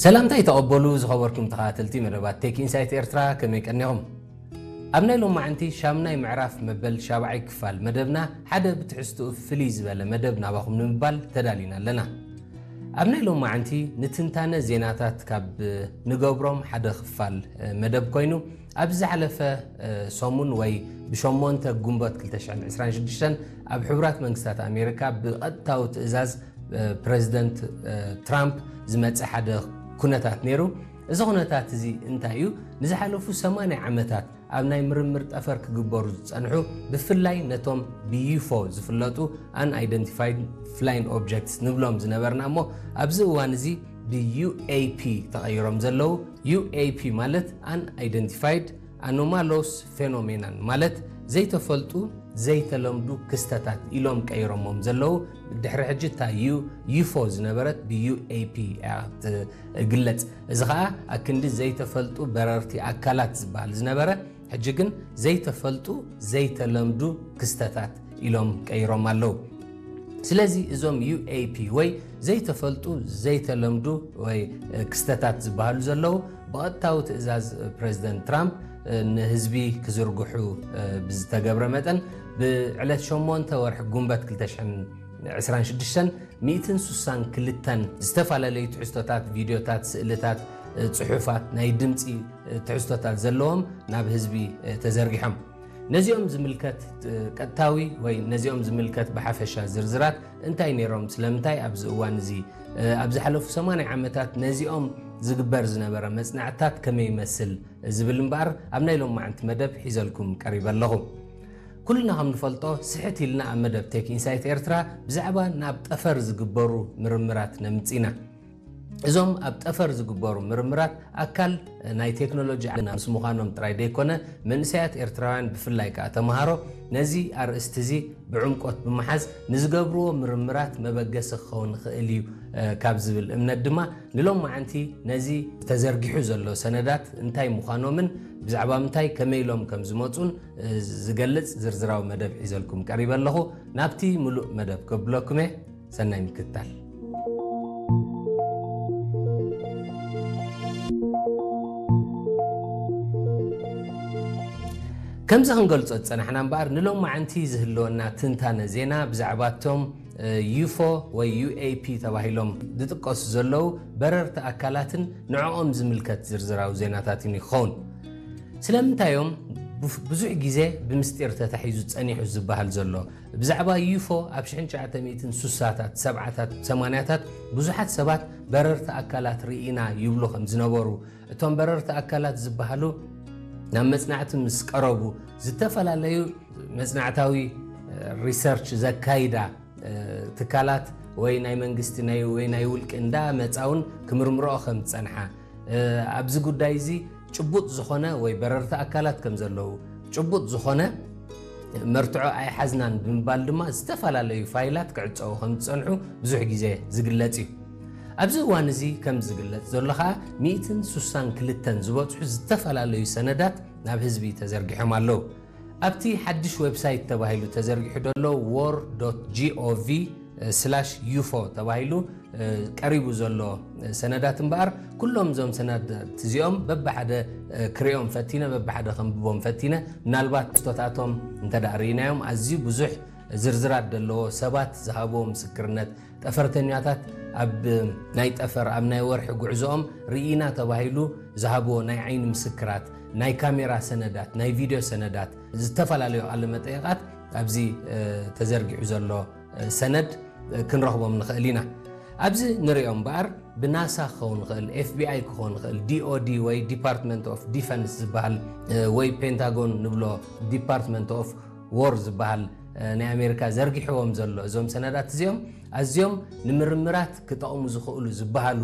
ሰላምታ ይተቐበሉ ዝኸበርኩም ተኸታተልቲ መደባት ቴክ ኢንሳይት ኤርትራ፣ ከመይ ቀኒኹም? ኣብ ናይ ሎማዓንቲ ሻምናይ ምዕራፍ መበል ሻብዓይ ክፋል መደብና ሓደ ብትሕዝትኡ ፍልይ ዝበለ መደብ ናባኹም ንምባል ተዳሊና ኣለና። ኣብ ናይ ሎማዓንቲ ንትንታነ ዜናታት ካብ ንገብሮም ሓደ ክፋል መደብ ኮይኑ፣ ኣብ ዝሓለፈ ሰሙን ወይ ብሸሞንተ ግንቦት ክልተ ሽሕን ዕስራን ሽዱሽተን ኣብ ሕቡራት መንግስታት ኣሜሪካ ብቐጥታዊ ትእዛዝ ፕረዚደንት ትራምፕ ዝመፀ ሓደ ኩነታት ነይሩ። እዚ ኩነታት እዚ እንታይ እዩ? ንዝሓለፉ ሰማንያ ዓመታት ኣብ ናይ ምርምር ጠፈር ክግበሩ ዝጸንሑ፣ ብፍላይ ነቶም ብዩፎ ዝፍለጡ Unidentified Flying Objects ንብሎም ዝነበርና እሞ ኣብዚ እዋን እዚ ብዩኤፒ ተቐይሮም ዘለዉ። ዩኤፒ ማለት Unidentified Anomalous Phenomenon ማለት ዘይተፈልጡ ዘይተለምዱ ክስተታት ኢሎም ቀይሮሞም ዘለዉ። ድሕሪ ሕጂ እታ ዩ ዩፎ ዝነበረት ብዩኤፒ እያ ትግለጽ። እዚ ኸኣ ኣክንዲ ዘይተፈልጡ በረርቲ ኣካላት ዝበሃል ዝነበረ ሕጂ ግን ዘይተፈልጡ ዘይተለምዱ ክስተታት ኢሎም ቀይሮም ኣለዉ። ስለዚ እዞም ዩኤፒ ወይ ዘይተፈልጡ ዘይተለምዱ ወይ ክስተታት ዝበሃሉ ዘለዉ ብቐጥታዊ ትእዛዝ ፕረዚደንት ትራምፕ ንህዝቢ ክዝርግሑ ብዝተገብረ መጠን ብዕለት ሸሞንተ ወርሒ ጉንበት ክልተ ሽሕን ዕስራን ሽዱሽተን ሚእትን ሱሳን ክልተን ዝተፈላለዩ ትሕዝቶታት፣ ቪድዮታት፣ ስእልታት፣ ጽሑፋት፣ ናይ ድምጺ ትሕዝቶታት ዘለዎም ናብ ህዝቢ ተዘርጊሖም። ነዚኦም ዝምልከት ቀጥታዊ ወይ ነዚኦም ዝምልከት ብሓፈሻ ዝርዝራት እንታይ ነይሮም፣ ስለምንታይ ኣብዚ እዋን እዚ፣ ኣብ ዝሓለፉ ሰማንያ ዓመታት ነዚኦም ዝግበር ዝነበረ መጽናዕትታት ከመይ ይመስል ዝብል እምበኣር ኣብ ናይ ሎማዓንቲ መደብ ሒዘልኩም ቀሪበ ኣለኹ። ኩልና ከም ንፈልጦ ስሕት ኢልና ኣብ መደብ ቴክ ኢንሳይት ኤርትራ ብዛዕባ ናብ ጠፈር ዝግበሩ ምርምራት ነምጽ ኢና። እዞም ኣብ ጠፈር ዝግበሩ ምርምራት ኣካል ናይ ቴክኖሎጂ ዓለምና ምስ ምዃኖም ጥራይ ደይኮነ፣ መንእሰያት ኤርትራውያን ብፍላይ ከኣ ተምሃሮ ነዚ ኣርእስቲ እዚ ብዕምቆት ብምሓዝ ንዝገብርዎ ምርምራት መበገሲ ክኸውን ይኽእል እዩ ካብ ዝብል እምነት ድማ ንሎማዓንቲ ነዚ ተዘርጊሑ ዘሎ ሰነዳት እንታይ ምዃኖምን ብዛዕባ ምንታይ ከመይ ኢሎም ከም ዝመጹን ዝገልጽ ዝርዝራዊ መደብ ሒዘልኩም ቀሪበ ኣለኹ። ናብቲ ምሉእ መደብ ከብለኩም እየ። ሰናይ ምክትታል። ከምዚ ክንገልጾ ዝጸናሕና እምበኣር ንሎማዓንቲ ዝህልወና ትንታነ ዜና ብዛዕባ እቶም ዩፎ ወይ ዩኤፒ ተባሂሎም ዝጥቀሱ ዘለዉ በረርቲ ኣካላትን ንዕኦም ዝምልከት ዝርዝራዊ ዜናታትን ይኸውን። ስለምንታይ እዮም ብዙሕ ግዜ ብምስጢር ተታሒዙ ጸኒሑ ዝበሃል ዘሎ? ብዛዕባ ዩፎ ኣብ ሽሕን ትሽዓተ ሚእትን ሱሳታት፣ ሰብዓታት፣ ሰማንያታት ብዙሓት ሰባት በረርቲ ኣካላት ርኢና ይብሉ ከም ዝነበሩ፣ እቶም በረርቲ ኣካላት ዝበሃሉ ናብ መጽናዕቲ ምስ ቀረቡ ዝተፈላለዩ መጽናዕታዊ ሪሰርች ዘካይዳ ትካላት ወይ ናይ መንግስቲ ናይ ወይ ናይ ውልቂ እንዳ መጻውን ክምርምረኦ ከም ዝጸንሓ፣ ኣብዚ ጉዳይ እዚ ጭቡጥ ዝኾነ ወይ በረርቲ ኣካላት ከም ዘለዉ፣ ጭቡጥ ዝኾነ መርትዖ ኣይሓዝናን ብምባል ድማ ዝተፈላለዩ ፋይላት ክዕጸዉ ከም ዝጸንሑ ብዙሕ ግዜ ዝግለጽ እዩ። ኣብዚ እዋን እዚ ከም ዝግለጽ ዘሎ ኸኣ ሚእትን ሱሳን ክልተን ዝበጽሑ ዝተፈላለዩ ሰነዳት ናብ ህዝቢ ተዘርጊሖም ኣለዉ። ኣብቲ ሓድሽ ዌብሳይት ተባሂሉ ተዘርጊሑ ዘሎ war.gov/ufo ተባሂሉ ቀሪቡ ዘሎ ሰነዳት እምበኣር፣ ኩሎም እዞም ሰነዳት እዚኦም በብሓደ ክርእዮም ፈቲነ፣ በብሓደ ከንብቦም ፈቲነ። ምናልባት ክስቶታቶም እንተ ደኣ ርኢናዮም ኣዝዩ ብዙሕ ዝርዝራት ዘለዎ፣ ሰባት ዝሃብዎ ምስክርነት፣ ጠፈርተኛታት ኣብ ናይ ጠፈር ኣብ ናይ ወርሒ ጉዕዞኦም ርኢና ተባሂሉ ዝሃብዎ ናይ ዓይኒ ምስክራት፣ ናይ ካሜራ ሰነዳት፣ ናይ ቪድዮ ሰነዳት፣ ዝተፈላለዩ ቃለ መጠይቓት ኣብዚ ተዘርጊሑ ዘሎ ሰነድ ክንረኽቦም ንኽእል ኢና። ኣብዚ ንሪኦ እምበኣር ብናሳ ክኸውን ይኽእል፣ ኤፍቢኣይ ክኸውን ይኽእል፣ ዲኦዲ ወይ ዲፓርትመንት ኦፍ ዲፈንስ ዝበሃል ወይ ፔንታጎን ንብሎ ዲፓርትመንት ኦፍ ዎር ዝበሃል ናይ ኣሜሪካ ዘርጊሕዎም ዘሎ እዞም ሰነዳት እዚኦም ኣዝዮም ንምርምራት ክጠቕሙ ዝኽእሉ ዝበሃሉ